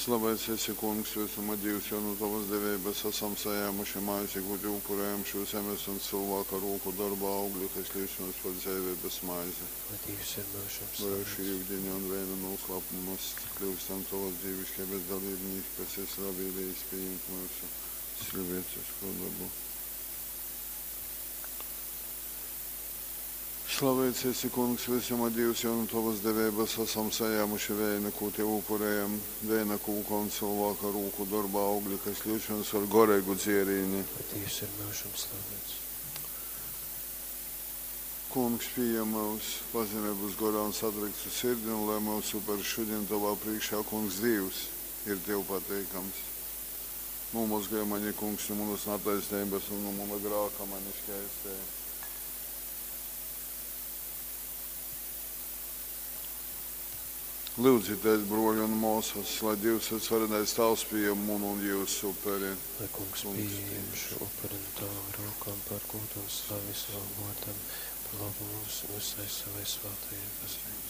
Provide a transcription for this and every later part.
Slavēts esi, Kungs, vysuma Dīvs, jo nu tovas deveibas asam sajēmuši maizi, kū tev upurējam šo zemes un cilvēka rūku dorba augļu, kas kļūst mums par dzeiveibas maizi. Lai Dīvs ir myužam Lai ar šī slavēts. yudiņa un veina noslēpuma mēs kļūstam tavas dievišķības dalībnieki, kas esi labvēlījis pieņemt mūsu cilvēcisko dabu. Slavēts esi, Kungs, visuma Dievs, jo no tavas deveibas esam sajēmuši veina, ko tev upurējam, veina kūka un cilvēka rūku darba augļi, kas kļūst mums par goreigu dzierīni. Lai Dievs ir myužam slavēts. Kungs, pieņem mūs pazemības gorā un satriktu sirdi, un lai mūsu upurs šodien tavā priekšā, Kungs, Dievs, ir tev pateikams. Nomazgāj mani, Kungs, no manas netaisnības un no mana grāka mani šķēstē. Lūdzieties, broļi un māsas, lai Dievs visvarenais Tēvs pieņem manu un jūsu upuri. Lai Kungs Kungs pieņem šo upuri no tavām rokām par godu un slavi savam vārdam, par labu mums un visai savai svētajai baznīcai.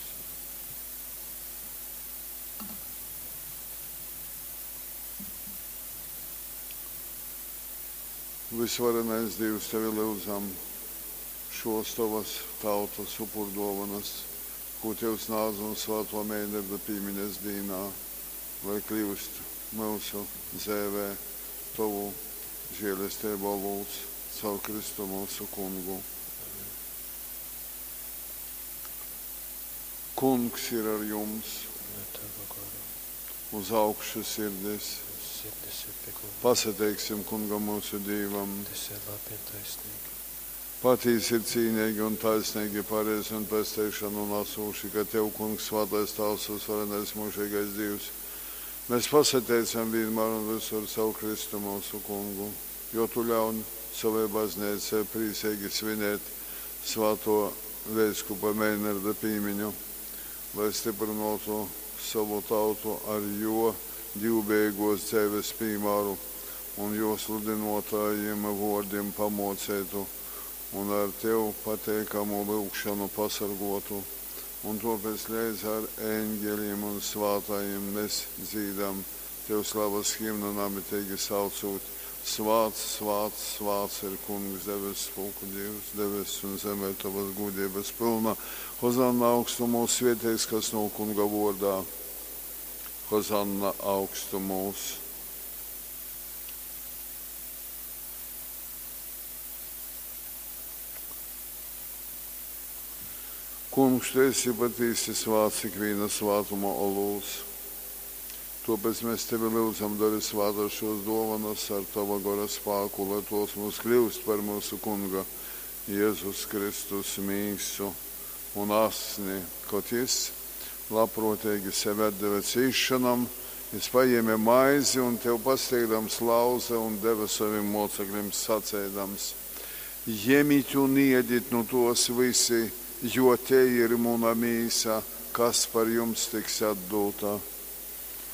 Visvarenais Dievs, tevi lūdzam šos tavas tautas upurdovanas, ko Tev snādz un svēto Meinerda pīmiņas dīnā, lai kļūst mūsu dzēvē tavu žēlestību olūts caur Kristu mūsu kungu. Kungs ir ar jums, Un ar tavu goru. uz augšu sirdis. Mūsu sirdis ir pie kunga. Pasateiksim kungam mūsu Dievam. Tas ir labi un taisnīgi. Patīsi ir cīnīgi un taisnīgi, pareizi un pesteikšanu un asūši, ka Tev, Kungs, svētais Tēvs, uzvarenais mūžīgais Dievs. Mēs pasateicam vienmēr un visur savu Kristu mūsu kungu, jo Tu ļaun savai baznīcai priecīgi svinēt svēto veiskupa Meinerda pīmiņu, lai stiprinātu savu tautu ar jo divbēgos dzīves piemēru un jo sludinotājiem vārdiem pamocētu un ar tev pateikamu lūgšanu pasargotu. Un tāpēc līdz ar eņģeļiem un svētājiem mēs dzīdam tev slavas himnu namitīgi saucot. Svāts, svāts, svāts ir kungs debesu pulku Dievs, debesis un zemē tavas gudrības pilna. Hozanna augstumos svētīgs, kas no kunga vārdā. Hozanna augstumos. Kungs, tu esi patiesi svāts ikviena svātuma olūts. Tāpēc mēs tevi lūdzam, dari svātas šos dovanas ar tava gora spēku, lai tos mums kļūst par mūsu kunga Jēzus Kristus mīsu un asni, kaut jis labprātīgi sevi atdeva cīšanam, jis paņēma maizi un tev pasteigdams lauze un deva saviem mocekļiem sacēdams: Ņemiet un iediet no tos visi, jo te ir muna mīsa, kas par jums tiks atdota.